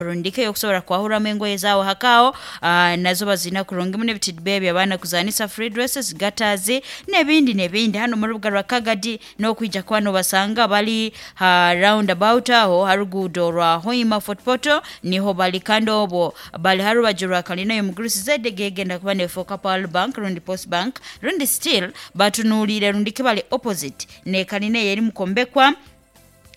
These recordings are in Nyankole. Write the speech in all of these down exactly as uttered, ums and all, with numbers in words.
Rundike yokusobora kwahuramu engoye zaawe hakaho uh, nazo bazina kurungi muno ebitidbe by'abaana kuzanisa, free dresses, gatters n'ebindi n'ebindi. Hano mu rubuga rwa Kagadi n'okwija kuba nobasanga bali ha roundabout aho ha ruguudo rwa Hoima Fort Portal niho bali, kandi obwo bali ha rubaju rwa kalina y'omugurusi zedege egenda kuba nefoka Pearl Bank rundi Post Bank rundi still batunuulire rundi bali opposite ne kalina eyo eri mukombekwa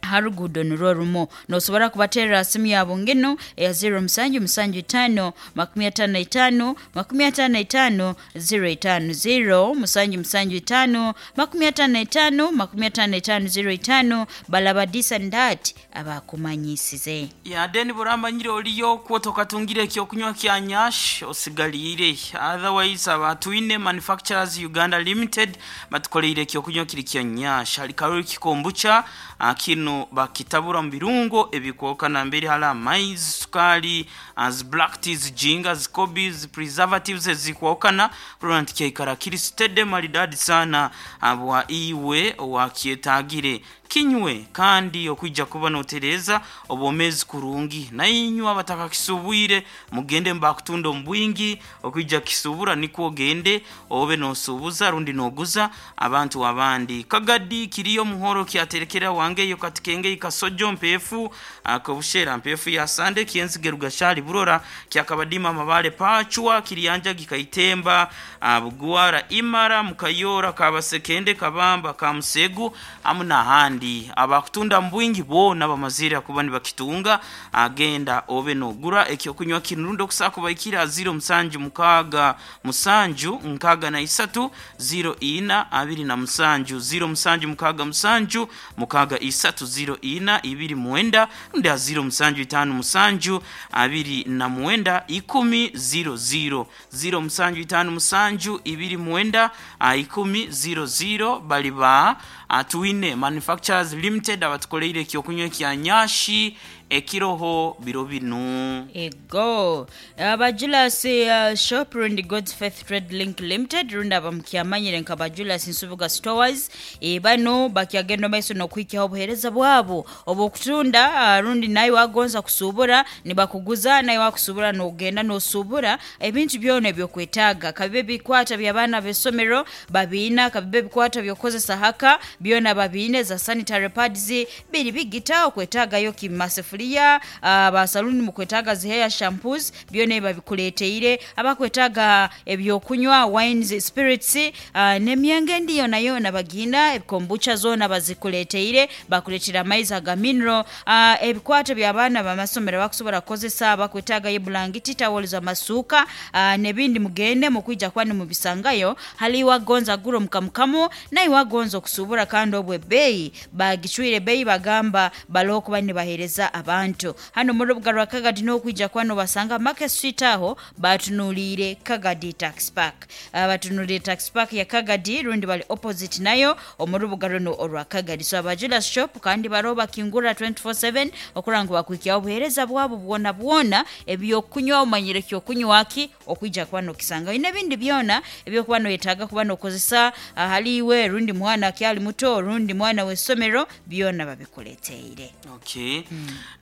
ha ruguudo nirwo rumu. Nosobora kubaterera simu yabo ngino eya zero musanju musanju itaano makumi ataano na itaano makumi ataano na itaano zero itaano, zero musanju musanju itaano makumi ataano na itaano makumi ataano na itaano zero itaano. Balaba this and that abakumanyisize. Ya, then buramanyire oliyo kwoto katungire ekyokunywa kya Nyash osigalire. Otherwise, abatwine Manufacturers Uganda Limited batukoleire ekyokunywa kiri kya Nyash hali kalori kombucha. ah, kino bakitabura mu birungo ebikwoka nambere hali amaizi, sukali, as black teas, ginger, kobis, preservatives ezikwokana kurora nti kyaikara kiri steady, maridadi sana abwa iwe wakyetagire kinywe kandi okwija kuba notereza obwomezi kurungi. Nainywe abatakakisubwire mugende mbakutunda omu bwingi okwija kisubura, nikwo ogende obe nosubuza rundi noguza abantu abandi. Kagadi kiriyo muhoro kyaterekera wange yo katikenge ikasojo mpefu akabushera mpefu ya sande kienzige rugashali burora kyakabadima mabale pachwa kiriyanja gikaitemba ah, bugwara imara mukayora kabasekende kabamba kamusegu amu n'ahandi. Abakutunda mbwingi bona bamazire kuba nibakitunga. Agenda obe nogura ekyokunywa kino rundi okusaka kubaikira zero musanju mukaga musanju nkaga na isatu zero ina abiri na musanju, zero musanju mukaga musanju mukaga isatu zero ina ibiri mwenda, rundi a zero musanju itanu musanju abiri na mwenda ikumi zero zero, zero musanju itanu musanju ibiri mwenda ah, ikumi zero zero. Bali ba Atwine Manufacturers Limited abatukoleire ekyokunywa kya Nyashi ekiroho biro binu. Ego Abajulas uh, shop rundi God's Faith Trade Link Limited rundi abamukyamanyire nka Bajulas Nsubuga Stores, e, bano bakyagenda maiso n'okuhikyaho obuheereza bwabo obwokutunda uh, rundi naye wagonza kusubura nibakuguza, naye wakusubura nogenda nosubura ebintu byona ebyokwetaaga, kabibe bikwata by'abaana b'essomero babiina, kabibe bikwata byokukozesa haka byona babiine, za sanitary pads biri bigita okwetaagayo kimasefuliya, uh, basaluni mukwetaaga zi hair shampoos byona ebyo babikuleteire, abakwetaaga ebyokunywa, wines, spirits, uh, n'emyenge endi yona yona bagina, kombucha zona bazikuleteire, bakuleetera amaizi aga mineral, uh, ebikwato by'abaana bamasomero bakusobola kukozesa, bakwetaagayo bulangiti, tawolo, amasuuka uh, n'ebindi. Mugende mukwija kuba nimubisangayo. Hali wagonza gura omukamukamu naye wagonza okusubura, kandi obwo ebbeeyi bagicwire ebbeeyi bagamba baloho kuba nibaheereza abantu hano mu rubuga rwa Kagadi n'okwija kuba nobasanga Market Street aho batunuliire Kagadi Tax Park, uh, batunuliire Tax Park ya Kagadi rundi bali opposite nayo omu rubuga runo orwa Kagadi. So Abajula Shop kandi baroho bakingura twenty-four seven okurora ngu bakwikyaho obuheereza bwabo bwona bwona. Ebyokunywa omanyire kyokunywa ki okwija kuba nokisangayo n'ebindi byona ebyokuba noyetaaga kuba nokozesa ahaliiwe rundi mwana akyali muto rundi mwana w'essomero byona babikuleteire. Okay,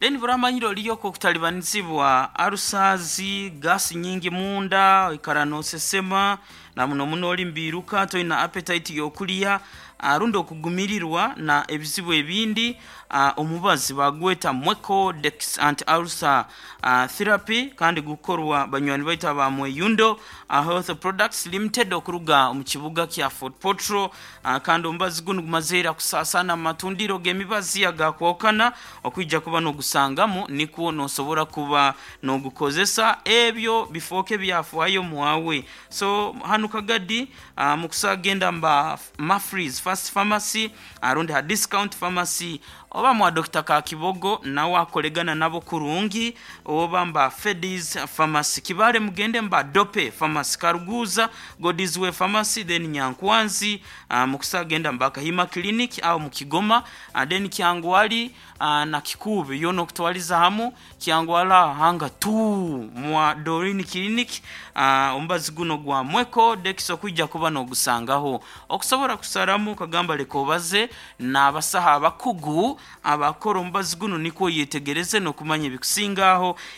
then buramanyire oliyoko okutalibanizibwa arusazi, gasi nyingi munda, oikara nosesema na muno muno oli mbiruka toina appetite yokulya, rundi okugumirirwa na ebizibu ebindi, uh, omubazi bagweta Mweko Dex Anti Ulcer uh, Therapy kandi gukorwa banywani baitu aba Mweyundo uh, Health Products Limited okuruga omu kibuga kya Fort Portal, uh, kandi omubazi gunu gumazeera kusasana mu matundiro g'emibazi agakwokana okwija kuba nogusangamu nikwo nosobora kuba nogukozesa ebyo bifooke byafaayo mwawe. So hanu Kagadi uh, mukusagenda mba Mafries First Pharmacy arundi ha Discount Pharmacy oba mwa Doctor Kakibogo nawe akolegana nabo kurungi, oba mba Fedis Pharmacy Kibale, mugende mba Dope Pharmacy Karuguza, Godisway Pharmacy, then Nyankwanzi uh, mukusagenda mba Kahima Clinic au mukigoma, uh, then Kyangwali uh, na Kikubi yono okutwaliza hamu Kyangwala hanga tu mwa Dorini Clinic, uh, omubazi guno gwa Mweko Dex okwijja kuba nogusangaho okusobola kusaramu kagamba leka obaze n'abasaha abakugu abakora omubazi guno nikwo yetegereze n'okumanya ebikusingaho.